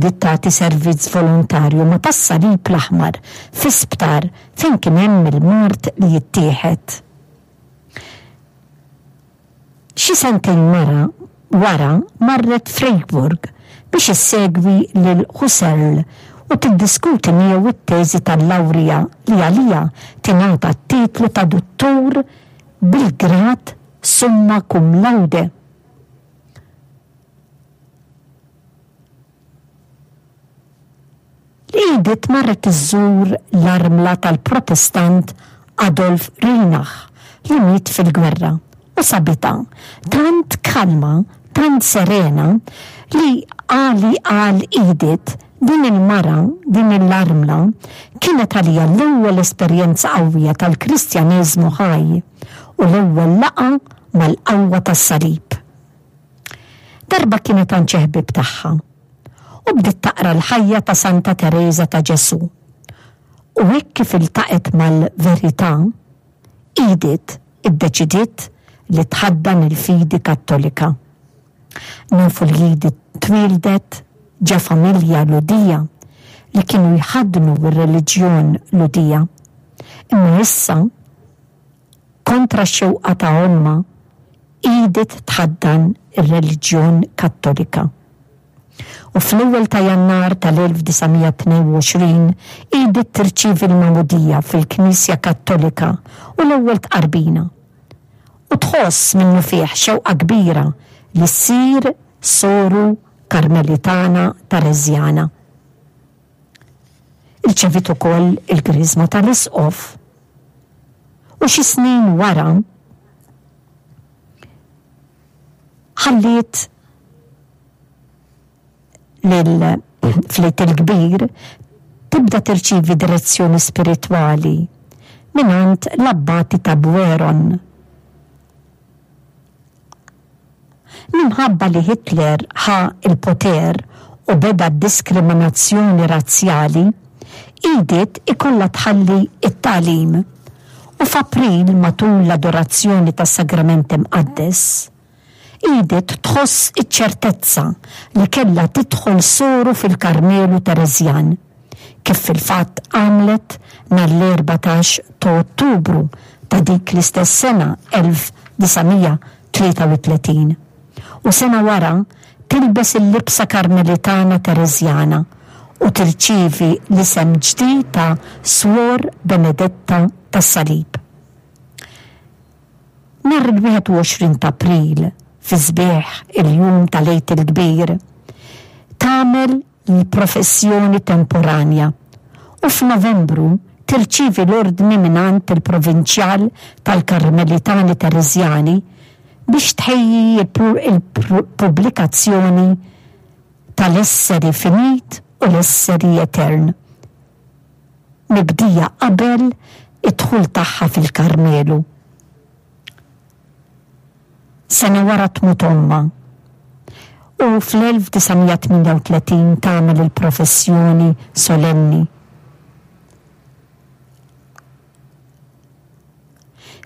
bdiet tagħti servizz volontarju ma' tas-Salib l-Aħmar fi sptar fejn kien hemm il-mard li jittieħed. Xi sentejn mara wara marret Freiburg biex issegwi lil Husserl u tiddiskuti miegħu t-teżi tal-lawrija li għaliha tingħata t-titlu ta' duttur bil-grad summa cum laude. Edith marret iżżur l-armla tal-Protestant Adolf Reinach li miet fil-gwerra u sabitha tant kalma, tant serena li għali għal Edith din il-mara, din l-armla, kienet għaliha l-ewwel esperjenza qawwija tal-Kristjaneżmu ħaj u l-ewwel laqgħa mal-qawwa tas-salib. Darba kienet għand xi ħbieb tagħha u bdiet taqra l-ħajja ta' Santa Tereża ta' Ġesù. U hekk kif iltaqgħet mal-verità, Edith iddeċidiet li tħaddan il-fidi Kattolika. Nafu li Edith twieldet ġa familja Lhudija li kienu jħaddnu r-reliġjon Lhudija. Imma issa, kontra x-xewqa ta' ommha, Edith tħaddan ir-reliġjon Kattolika. U fl-ewwel ta' Jannar tal-1922, Edith tirċievi l-magħmudija fil-Knisja Kattolika u l-ewwel tqarbina. U tħoss minnufih xewqa kbira li ssir soru Karmelitana Tereżjana. Irċeviet ukoll il-griżma tal-Isqof. U xi snin wara ħalliet lil fl-Għid il-Kbir tibda tirċievi direzzjoni spiritwali mingħand l-abbati ta' Bueron. Minħabba li Hitler ħa l-poter u beda d-diskriminazzjoni razzjali, Edith ikollha tħalli t-tagħlim u f'April matul l-adorazzjoni tas-Sagrament Imqaddes, Edith tħoss iċ-ċertezza li kellha tidħol soru fil-Karmelu Tereżjan, kif fil-fatt għamlet nhar l-erbatax ta' Ottubru ta' dik l-istess sena 1933, u sena wara tilbes il-libsa Karmelitana Tereżjana u tirċievi l-isem ġdid ta' Suor Benedetta tas-Salib. Nhar il-21 ta' April, fi sbieħ il-jum tal-Għid il-Kbir, tagħmel l-professjoni temporanja u f'Novembru tirċievi l-ordni mingħand il-Provinċjal tal-Karmelitani Tereżjani biex tħejji l-pubblikazzjoni tal-Esseri Finit u l-Esseri Etern, mibdija qabel id-dħul tagħha fil-Karmelu. Sena wara tmut ommha u fl-1938 tagħmel il-professjoni solenni.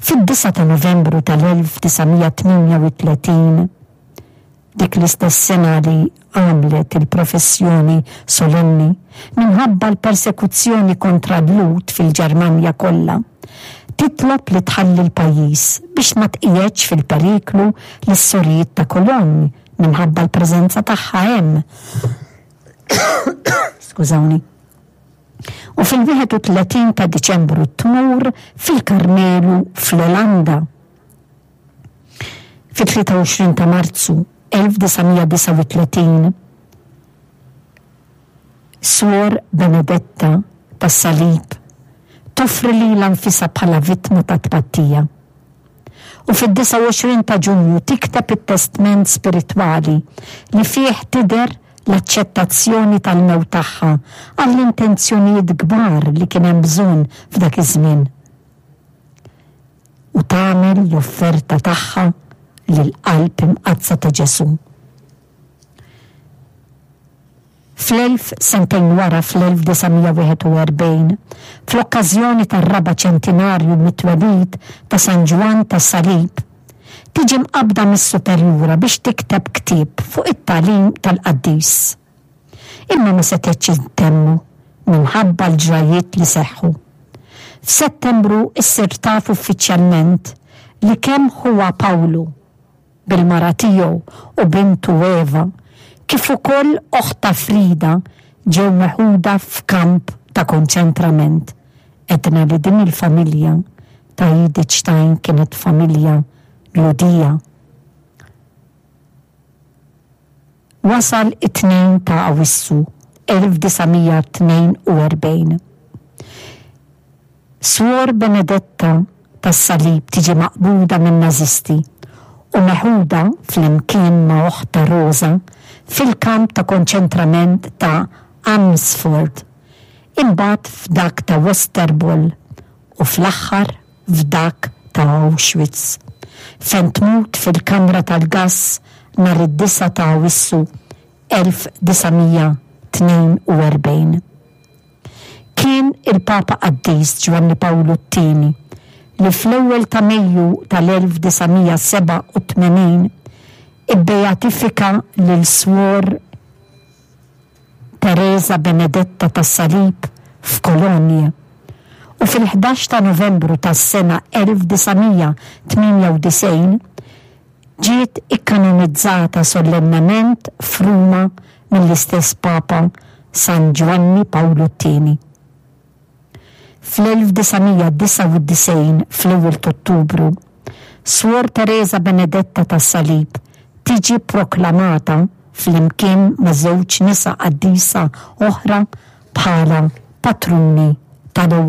Fid-9 ta' Novembru tal-1938, dik l-istess sena li għamlet il-professjoni solenni, minħabba l-persekuzzjoni kontra l-Lhud fil-Ġermanja kollha, titlob li tħalli l-pajjiż biex ma tqiegħedx fil-periklu lis-sorijiet ta' Cologne minħabba l-preżenza tagħha hemm. Skużawni. U fil-31 ta' Diċembru tmur fil-Karmelu fl-Olanda. Fit-23 ta' Marzu 1939, Suor Benedetta tas-Salib toffri lilha nfisha bħala vittma ta' tpattija. U fid-29 ta' Ġunju tikteb it-testment spiritwali li fih tidher l-aċċettazzjoni tal-mewt tagħha għall-intenzjonijiet kbar li kien hemm bżonn f'dak iż-żmien. U tagħmel l-offerta tagħha lill-Qalb Imqaddsa ta' Ġesù. Fl-elf sentejn wara fl-1941, fl-okkażjoni tar-raba' ċentinarju mit-twelid ta' San Ġwann tas-Salib, tiġi mqabbda mis-superjura biex tikteb ktieb fuq it-tagħlim tal-qaddis. Imma ma setgħetx ittemmu minħabba l-ġrajjiet li seħħu. F'Settembru issir taf uffiċjalment li kemm ħuha Pawlu, bil-mara tiegħu u bintu Eva, kif ukoll oħtha Frida ġew meħuda f'kamp ta' konċentrament. Għedna li din il-familja ta' Edith Stein kienet familja Lhudija. Wasal it-2 ta' Awwissu 1942. Swor Benedetta tas-Salib tiġi maqbuda min-Nażisti u meħuda flimkien ma' oħtha Rosa fil-kamp ta' konċentrament ta' Amersfoort, imbagħad f'dak ta' Westerbork u fl-aħħar f'dak ta' Auschwitz, fejn tmut fil-kamra tal-gass nhar id-9 ta' Awwissu 1942. Kien il-Papa Qaddis Ġwanni Pawlu t-Tieni li fl-ewwel ta' Mejju tal-1987 ibbeatifika lil Swor Tereża Benedetta tas-Salib f'Cologne u fil-ħdax ta' Novembru tas-sena 1998 ġiet ikkanonizzata sollennement f'Ruma mill-istess Papa San Ġwanni Pawlu t-Tieni. Fl-1999 fl-ewwel t'Ottubru, Swor Tereża Benedetta tas-Salib tiġi proklamata flimkien ma' żewġ nisa qaddisa oħra bħala patruni tal-Ewropa.